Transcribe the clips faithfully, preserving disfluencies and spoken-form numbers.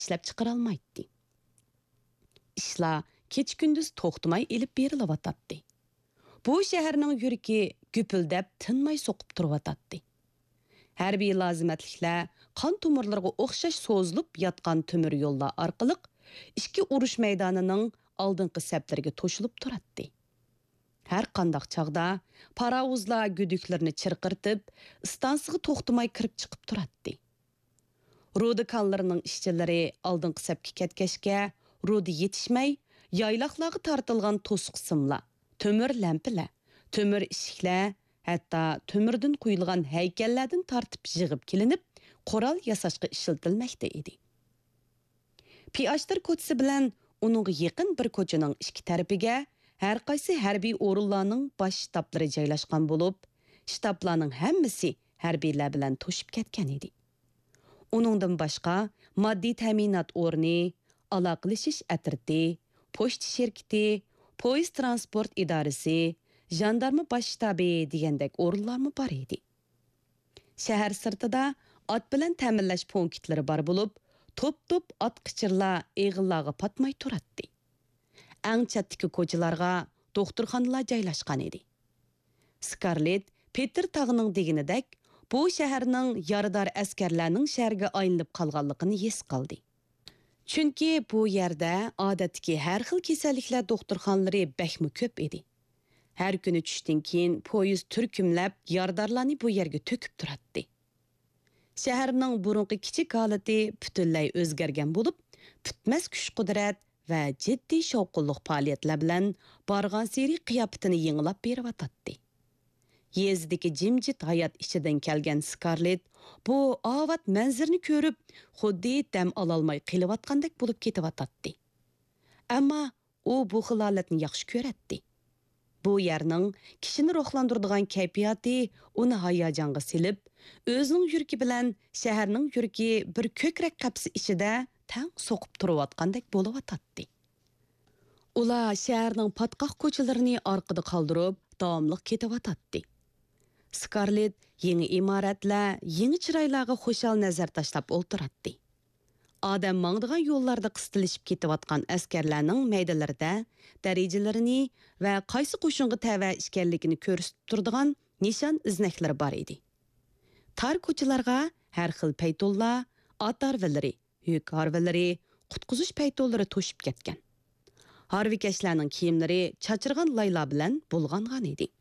ئىشلەپچىقىرالمايتتى. ئىشلار كېچە-كۈندۈز توختىماي ئېلىپ بېرىلىۋاتاتتى. بۇ شەھەرنىڭ يۈرىكى گۈپۈلدەپ تىنماي سوقۇپ تۇرۇۋاتاتتى. ھەربىي لازىمەتلىكلەر قان تومۇرلىرىغا ئوخشاش سوزۇلۇپ ياتقان تۆمۈر يوللار ئارقىلىق ئىككى ئۇرۇش مەيدانىنىڭ ئالدىنقى سەپلىرىگە توشۇلۇپ تۇراتتى. ھەر قانداق چاغدا پاراۋۇزلار گۈدۈكلىرىنى چىرقىرىتىپ، ئىستانسىغا توختىماي كىرىپ چىقىپ تۇراتتى. رۇدا كانلىرىنىڭ ئىشچىلىرى ئالدىنقى سەپكە كەتكەچكە، رۇدا يېتىشمەي، يايلاقلارغا تارتىلغان توسۇق سىملار، تۆمۈر لەمپىلەر، تۆمۈر ئىشىكلەر، ھەتتا تۆمۈردىن قۇيۇلغان ھەيكەللەردىن تارتىپ يىغىپ كېلىنىپ، قورال ياساشقا ئىشلىتىلمەكتە ئىدى. پىئاشتىر كوچىسى بىلەن ئۇنىڭغا يېقىن بىر كوچىنىڭ ئىككى تەرىپىگە ھەرقايسى ھەربىي ئورۇنلارنىڭ باش شتابلىرى جايلاشقان بولۇپ، شتابلارنىڭ ھەممىسى ھەربىيلەر بىلەن توشۇپ كەتكەن ئىدى. ئۇنىڭدىن باشقا، ماددىي تەمىنات ئورنى، ئالاقىلىشىش ئەترىتى، پوچتا شىركىتى، پويىز ترانسپورت ئىدارىسى، ژاندارما باش شتابى دېگەندەك ئورۇنلارمۇ بار ئىدى. شەھەر سىرتىدا ئات بىلەن تەمىنلەش پونكىتلىرى بار بولۇپ، توپ-توپ ئات قېچىرلار ئېغىللارغا پاتماي تۇراتتى. ئەڭ چەتتىكى كوچىلارغا دوختۇرخانىلار جايلاشقان ئىدى. سكارلېت پېتېر تاغنىڭ دېگىنىدەك، بۇ شەھەرنىڭ يارىدار ئەسكەرلەرنىڭ شەھىرىگە ئايلىنىپ قالغانلىقىنى ھېس قىلدى. چۈنكى بۇ يەردە ئادەتتىكى ھەر خىل كېسەللىكلەر دوختۇرخانىلىرى بەكمۇ كۆپ ئىدى. ھەر كۈنى چۈشتىن كېيىن پويىز تۈركۈملەپ يارىدارلارنى بۇ يەرگە تۆكۈپ تۇراتتى. شەھەرنىڭ بۇرۇنقى كىچىك ھالىتى پۈتۈنلەي ئۆزگەرگەن بولۇپ، پۈتمەس كۈچ-قۇدرەت ۋە جىددىي شاۋقۇنلۇق پائالىيەتلەر بىلەن بارغانسېرى قىياپىتىنى يېڭىلاپ بېرىۋاتاتتى. يېزىدىكى جىمجىت ھايات ئىچىدىن كەلگەن سكارلېت بۇ ئاۋات مەنزىرىنى كۆرۈپ، خۇددى دەم ئالالماي قېلىۋاتقاندەك بولۇپ كېتىۋاتاتتى. ئەمما ئۇ بۇ خىل ھالەتنى ياخشى كۆرەتتى. بۇ يەرنىڭ كىشىنى روھلاندۇرىدىغان كەيپىياتى ئۇنى ھاياجانغا سېلىپ، ئۆزىنىڭ يۈرىكى بىلەن شەھەرنىڭ يۈرىكى بىر كۆكرەك قەپىسى ئىچىدە تەڭ سوقۇپ تۇرۇۋاتقاندەك بولۇۋاتاتتى. ئۇلار شەھەرنىڭ پاتقاق كوچىلىرىنى ئارقىدا قالدۇرۇپ، داۋاملىق كېتىۋاتاتتى. سكارلېت يېڭى ئىمارەتلەر، يېڭى چىرايلارغا خۇشال نەزەر تاشلاپ ئولتۇراتتى. ئادەم ماڭىدىغان يوللاردا قىستىلىشىپ كېتىۋاتقان ئەسكەرلەرنىڭ مەيدىلىرىدە دەرىجىلىرىنى ۋە قايسى قوشۇنغا تەۋە ئىكەنلىكىنى كۆرسىتىپ تۇرىدىغان نىشان ئىزنەكلىرى بار ئىدى. تار كوچىلارغا ھەر خىل پەيتۇنلار، ئات ھارۋىلىرى، يۈك ھارۋىلىرى، قۇتقۇزۇش پەيتۇنلىرى توشۇپ كەتكەن. ھارۋىكەشلەرنىڭ كىيىملىرى چاچرىغان لايلار بىلەن بۇلغانغان ئىدى.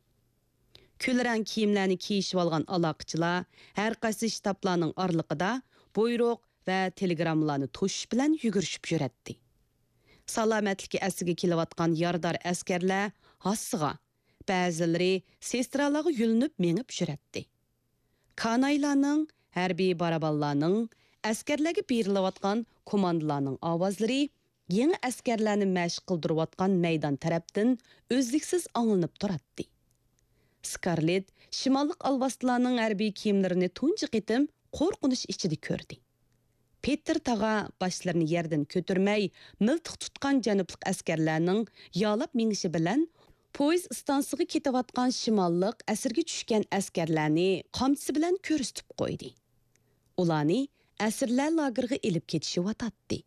كۈلرەڭ كىيىملەرنى كىيىشىۋالغان ئالاقىچىلار ھەر قايسى شتابلارنىڭ ئارىلىقىدا بۇيرۇق ۋە تېلېگراممىلارنى توشۇش بىلەن يۈگۈرۈشۈپ يۈرەتتى. سالامەتلىكى ئەسلىگە كېلىۋاتقان يارىدار ئەسكەرلەر ھاسىسىغا، بەزىلىرى سېسترالارغا يۆلىنىپ مېڭىپ يۈرەتتى. كانايلارنىڭ، ھەربىي بارابانلارنىڭ، ئەسكەرلەرگە بېرىلىۋاتقان كوماندىلارنىڭ ئاۋازلىرى يېڭى ئەسكەرلەرنى مەشىق قىلدۇرۇۋاتقان مەيدان تەرەپتىن ئۈزلۈكسىز ئاڭلىنىپ تۇراتتى. سكارلېت شىماللىق ئالۋاستىلارنىڭ ھەربىي كىيىملىرىنى تۇنجى قېتىم قورقۇنچ ئىچىدە كۆردى. پېتېر تاغا باشلىرىنى يەردىن كۆتۈرمەي، مىلتىق تۇتقان جەنۇبلۇق ئەسكەرلەرنىڭ يالاپ مېڭىشى بىلەن، پويىز ئىستانسىسىغا كېتىۋاتقان شىماللىق ئەسىرگە چۈشكەن ئەسكەرلەرنى قامچىسى بىلەن كۆرسىتىپ قويدى. ئۇلارنى ئەسىرلەر لاگېرىغا ئېلىپ كېتىشىۋاتاتتى.